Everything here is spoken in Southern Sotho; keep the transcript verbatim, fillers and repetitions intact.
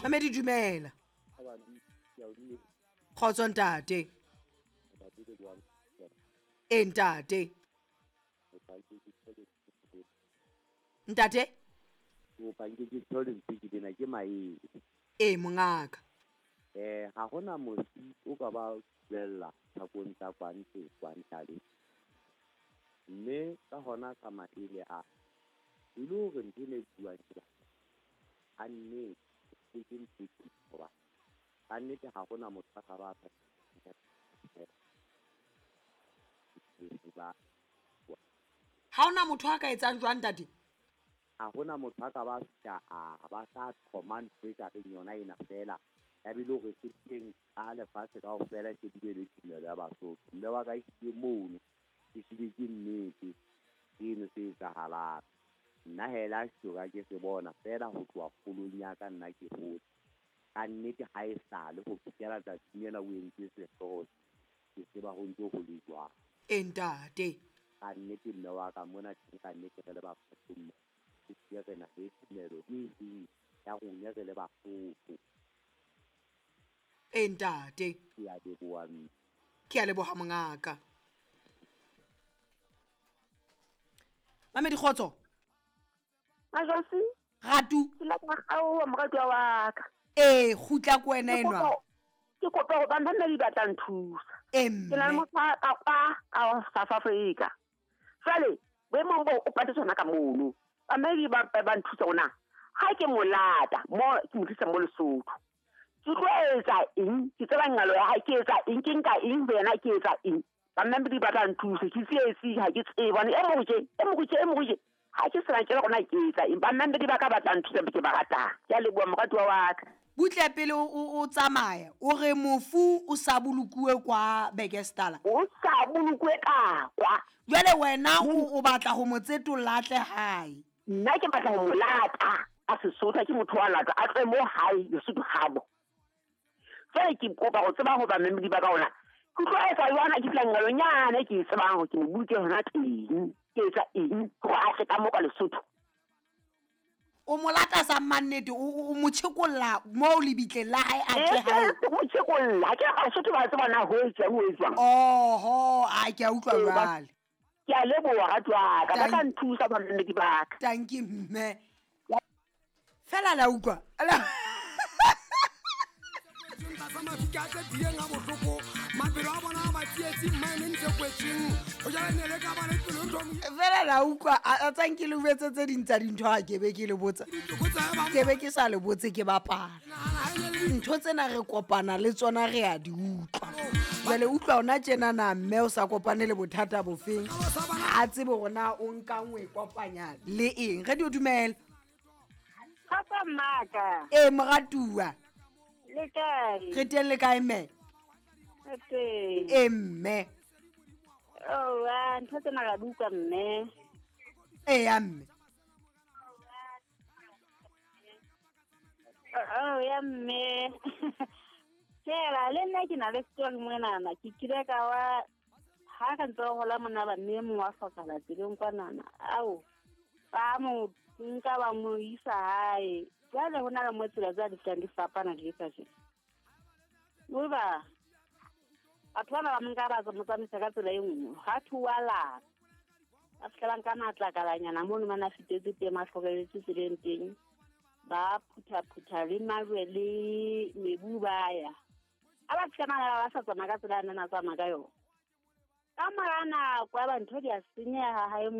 Mamedi dumela. Kgotso ntate. E ntate. Ntate? E mongaka. Eh ha hona mosi o ka ba tswella thakong tsa kwantse kwantale. Mme ka hona ka maele a e le hore ntho e buang ke a nnete ke ntho hoba ka nnete ha hona motho a ka ba ha hona motho a ka etsang jwang ntate? Ha hona motho a ka ba fihla a ba sa command e ka reng yona ena fela ya bile hore se teng a lefatshe kaofela ke bile le tumelo ya Basotho. Mme wa ka e mono ke hlile ke nnete seno se etsahalang. Nna hela soka ke se bona fela ho tloha kgolong ya ka nna ke hotse. Ka nnete ha e sale ho fihlela tsatsing lena o entse sehlooho ke tseba ho ntso ho le jwang. E ntate. Ka nnete mme wa ka mona teng ka nnete re le Basotho mme ke hlile re na le tumelo e seng ya rona re le Basotho. E ntate. Ke a leboha mme. Ke a leboha mongaka. Mamedi kgotso. Majosi. Ratu. Ke la ka moratuwa wa ka. Eh kgutla ko wena enwa. Ke kopa ho ba mme ba tla nthusa. E mme. Ke na le motho a kwa ka South Africa. Jwale boemong bo o patetse hona ka mono. Ba mme ba ba nthusa hona. Ha ke molata mo ke mo tlisa mo Lesotho. Ke tlo etsa eng? Ke tseba ngalo ya hae ke etsa eng? Ke nka eng ho yena ke etsa eng? Ba mme ba tla nthusa ke tsietsi ha ke tsebe bone e mo je e mo je e mo je ha ke sena ke rona ke etsa eng ba mme ba ka batla nthusa ke ba ratang. Ke a leboha moratuwa wa ka. Butle pele o tsamaya o re mofu o sa bolokuwe kwa Bekestala. O sa bolokuwe ka kwa. Jwale wena o batla ho mo tsetolla atle hae. Nna ke batla ho mo lata a Sesotho ke motho wa lata a tle mo hae Lesotho habo. Jwale ke kopa ho tseba ho ba mme ba ka ona. Ke tlo etsa jwana ke tla ngalonyana ke tsebang hore ke mo boloke hona teng. Ke etsa eng hore a tle ka mo ka Lesotho. O mo lata sa mannete o mo tjhekolla mo lebitleng la hae a tle hae. O mo tjhekolla ke a Sotho ba tseba na ho etsang ho etsang. Oho a ke a utlwa jwale. Ke a leboha ratuwa ka ba tla nthusa ba mme ba ka. Tanki mme. Fela la utlwa. Fela la utlwa a tsanki le betse tse ding tsa dintho ha ke be ke le botsa. Ke be ke sa le botse ke bapala. Ntho tsena re kopana le tsona re a di utlwa. Jwale utlwa ona tjena na mme o sa kopane le bothata bofeng. Ha tsebe hore na o nka nngwe kopanya le eng. Re di o dumela. Papa maka. E moratuwa. Le kae? Re teng le kae mme? Re teng. E mme. Oh, ah, ntho tsena ra di utlwa mme. E ya mme. Oh, ya mme. Tjela, le nna ke na le story monana. Ke kile ka wa ha re ntse re hola mona ba mme mong wa hlokahala tseleng kwanana. Ao, ba mo nka ba mo isa hae. Jwale ho na le mo tsela tsa di tlang di fapana di ka je. Uba batho bana ba nka ba mo tsamaisa ka tsela e nngwe. Ha thuwa la. Ba fihla ba nka matlakalanyana mono mana fitetse teng a hlokeletse tseleng teng. Ba phutha phutha le majwe le mebu ba ya. A ba fihla mana ba sa tsamaya ka tsela ena na tsamaya ka yona. Ka mora nako ya ba ntho di a senyeha hae.